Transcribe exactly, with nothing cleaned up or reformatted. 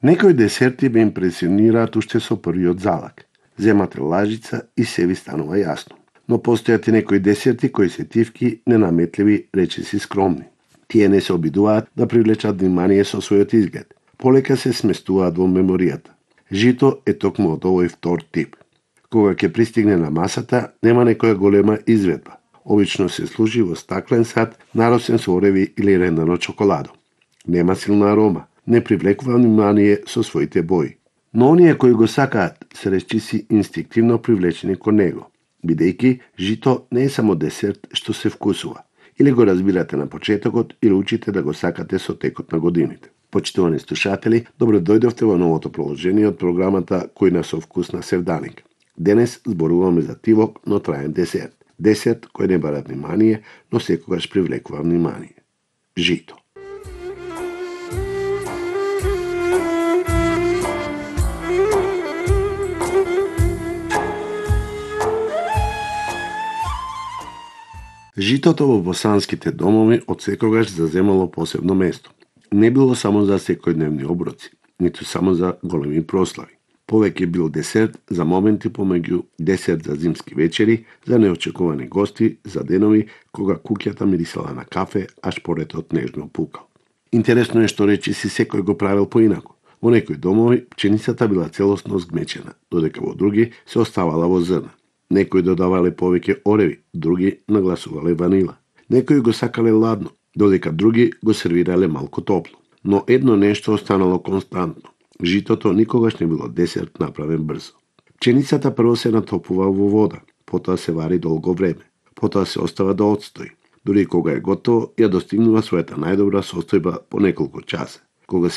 Некои десерти ме импресионираат уште со првиот залак. Земате лажица и се ви станува јасно. Но постојат и некои десерти кои се тивки, ненаметливи, речиси скромни. Тие не се обидуваат да привлечат внимание со својот изглед. Полека се сместуваат во меморијата. Жито е токму од овој втор тип. Кога ќе пристигне на масата, нема некоја голема изведба. Обично се служи во стаклен сад, наросен со ореви или рендано чоколадо. Нема силна арома, не привлекува внимание со своите бои. Но оние кои го сакаат се речиси инстинктивно привлечени кон него, бидејќи жито не е само десерт што се вкусува. Или го разбирате на почетокот, или учите да го сакате со текот на годините. Почитувани слушатели, добро дојдовте во новото продолжение од програмата Кујна со вкус на Севданик. Денес зборуваме за тивок, но траен десерт. Десерт кој не бара внимание, но секогаш привлекува внимание. Жито. Житото во босанските домови од секогаш заземало посебно место. Не било само за секојдневни оброци, ниту само за големи прослави. Повеќе бил десерт за моменти помеѓу, десерт за зимски вечери, за неочекувани гости, за денови кога куќата мирисала на кафе, а шпоретот нежно пукал. Интересно е што речиси секој го правил поинаку. Во некои домови пченицата била целосно згмечена, додека во други се оставала во зрна. Некои додавале повеќе ореви, други нагласувале ванила. Некои го сакале ладно, додека други го сервирале малку топло. Но едно нешто останало константно. Житото никогаш не било десерт направен брзо. Пченицата прво се натопува во вода, потоа се вари долго време, потоа се остава да отстои. Дури кога е готово, ја достигнува својата најдобра состојба по неколку часа. Кога си